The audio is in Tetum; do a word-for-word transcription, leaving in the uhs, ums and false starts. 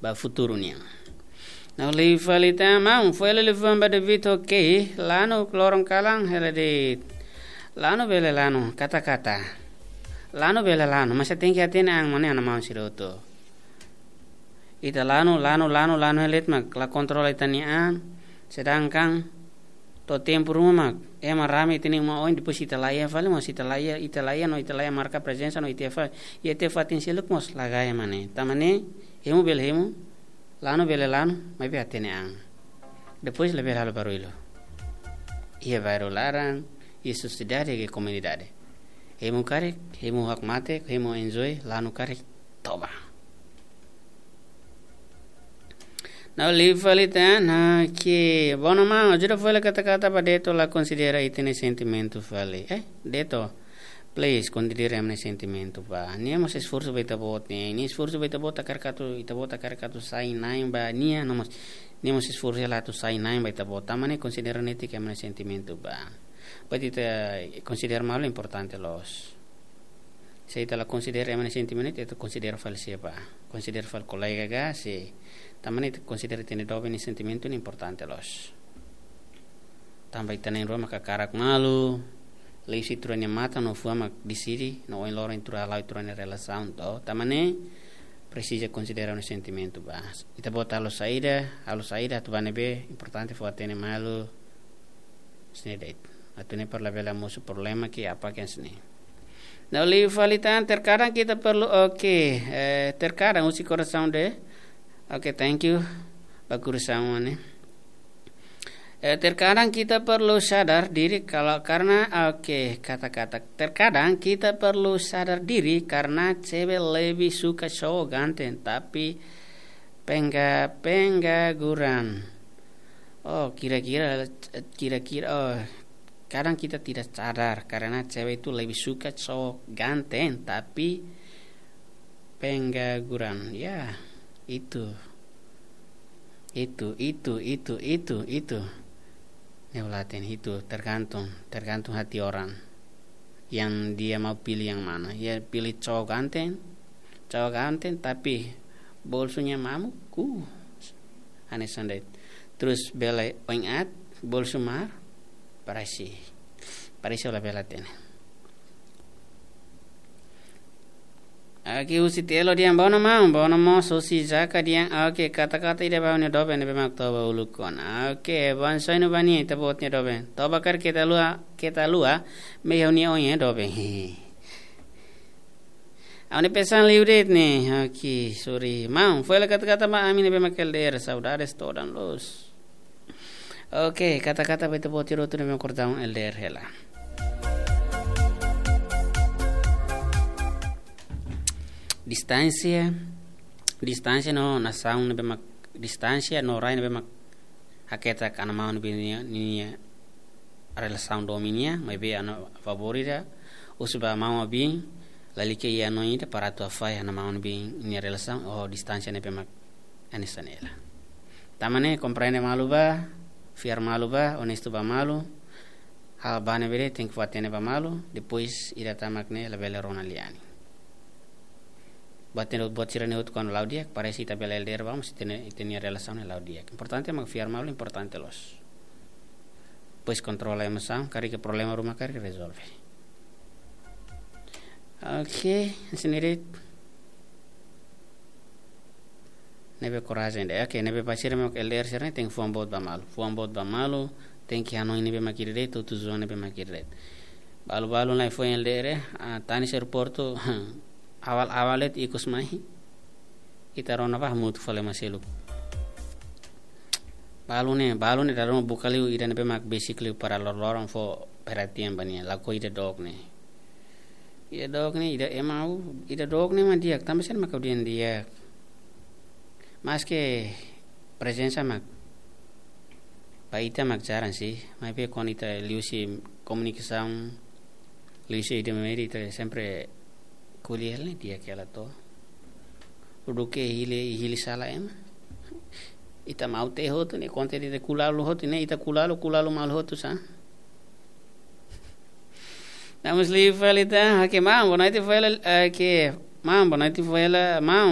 ba futuru nian. Ne'e liu fali tan, maun, foin hela liafuan ba David, oke, lanu loron kalan, hela de'it. Lanu bele lanu, kata-kata. Lanu bele lanu, mas ita tenke hatene an, maun, ne'e, maun sira hotu. Ita lanu, lanu, lanu, lanu hela de'it mak la kontrola ita-nia an, sedangkan to'o tempu ruma mak ema rame ita-nia uma oin, depois ita laiha fali, mas ita laiha, ita laiha no ita laiha marka prezensa no ita fali, ita fatin seluk mós la gaya, maun. Tanba ne'e, hemu bele hemu, lanu bele lanu, maibé hatene an. Depois labele halo barullu iha bairru laran, iha sosiedade ka komunidade. Hemu karik, hemu hakmatek, hemu enjoy, lanu karik, toba. Ne'e liu fali tan, oke. Bom, maun, ajuda fali kata-kata ba Deto la konsidera ita-nia sentimentu fali. Eh, Deto, please, konsidera ema nia sentimentu ba. Nia mós esforsu ba ita-boot ne'e. Nia esforsu ba ita-boot hakarak atu, ita-boot hakarak atu sai na'in ba nia, no mós, nia mós esforsu hela atu sai na'in ba ita-boot. Tanba ne'e konsidera netik ema nia sentimentu ba. Ba ita konsidera malu importante loos. Se ita la konsidera ema nia sentimentu, ita konsidera fali sé ba? Konsidera fali kolega ka, se. Tanba ne'e ita konsidera ita-nia doben nia sentimentu ne'e importante loos. Tanba ita na'in-rua mak hakarak malu, liuhusi ita-rua nia matan no fuan mak deside, no oin loron ita-rua hala'o ita-rua nia relasaun, to. Tanba ne'e presiza konsidera nia sentimentu ba. Ita-boot halo saida, halo saida atu ba ne'ebé, importante fó hatene malu, sini deit. Atu ne'e para labele mosu problema ke apa ke sini. Ne'e liu fali tan, terkadang kita perlu, oke, eh, terkadang husi korasaun de, oke, thank you, ba korasaun ne'e. Eh, terkadang kita perlu sadar diri kalau karena, oke, kata-kata, terkadang kita perlu sadar diri karena cewek lebih suka cowok ganteng, tapi pengga-, pengangguran. Oh, kira-kira, kira-kira, oh, kadang kita tidak sadar karena cewek itu lebih suka cowok ganteng, tapi pengangguran. Ya, itu. Itu, itu, itu, itu, itu. Ne'e ulaten itu tergantung, tergantung hati orang. Yang dia mau pilih yang mana. Ya, pilih cowok ganteng, cowok ganteng, tapi bolsunya mamuk, uh, hanesan de'it. Terus bele oin aat, bolsu maar, parese, parese labele hatene. Oke, husi Telo dehan, bom, maun, bom, maun, husi Zaka dehan, oke, kata-kata ida ba ha'u-nia doben ne'ebé mak toba uluk ona. Oke, bom, soinu ba nia, ita-boot nia doben. Toba karik keta haluha, keta haluha, mehi ha'u-nia oin nia doben. Ha'u-nia pesan liu de'it ne'e. Oke, sorry. Maun, foin hela kata-kata ba ami ne'ebé mak L D R, saudades todan loos. Oke, kata-kata ba ita-boot sira hotu ne'ebé mak kordau L D R hela. Distánsia, distánsia no nasaun ne'ebé mak, distánsia no rai ne'ebé mak haketak ana maun ne'ebé nia, nia relasaun domin nian, maibé ha'u-nia favór ida, husu ba maun-alin, lalika iha hanoin ida para atu hafahe ana maun-alin nia relasaun, oh, distánsia ne'ebé mak hanesan ne'e hela. Tanba ne'e komprende malu ba, fiar malu ba, onestu ba malu, hal ba ne'ebé de'it tenke fó hatene ba malu, depois ida tan mak ne'e labele rona lian. Buat ne'e, buat sira-ne'e hotu kuandu la'o di'ak, parese ita bele L D R ba, mas ita-nia, ita-nia relasaun ne'e la'o di'ak. Importante mak fiar malu, importante loos. Depois kontrola emosaun, karik iha problema ruma karik rezolve. Oke, sini de'it. Ne'ebé korajen de'it. Oke, ne'ebé ba sira mak L D R sira-ne'e tenke fuan boot ba malu. Fuan boot ba malu, tenke hanoin ne'ebé mak ida de'it, tujuan ne'ebé mak ida de'it. Balu-balu lai foin L D R, ah, tanis aeroportu, awal-awal de'it ikus mai. Ita rona ba hamutuk fali ema seluk. Balu ne'e, balu ne'e dala ruma buka liu ida ne'ebé mak besik liu para loroloron fó perhatian ba nia, lakohi ida dook ne'e. Ida dook ne'e, ida ema ha'u, ida dook ne'e mak di'ak, tanba sá mak ha'u dehan di'ak. Maske prezensa mak, ba ita mak jarang sih, maibé kuandu ita liuhusi komunikasaun, liuhusi ida media ita sempre ko'alia hela ne'e di'ak hela to. Duké hili, hili sala ema. Ita maun-alin hotu ne'e, konta ita kulalu hotu ne'e, ita kulalu, kulalu malu hotu sá. Ne'e mós liu fali tan, oke, maun, boa noite, foin hela, oke, maun, boa noite, foin hela, maun,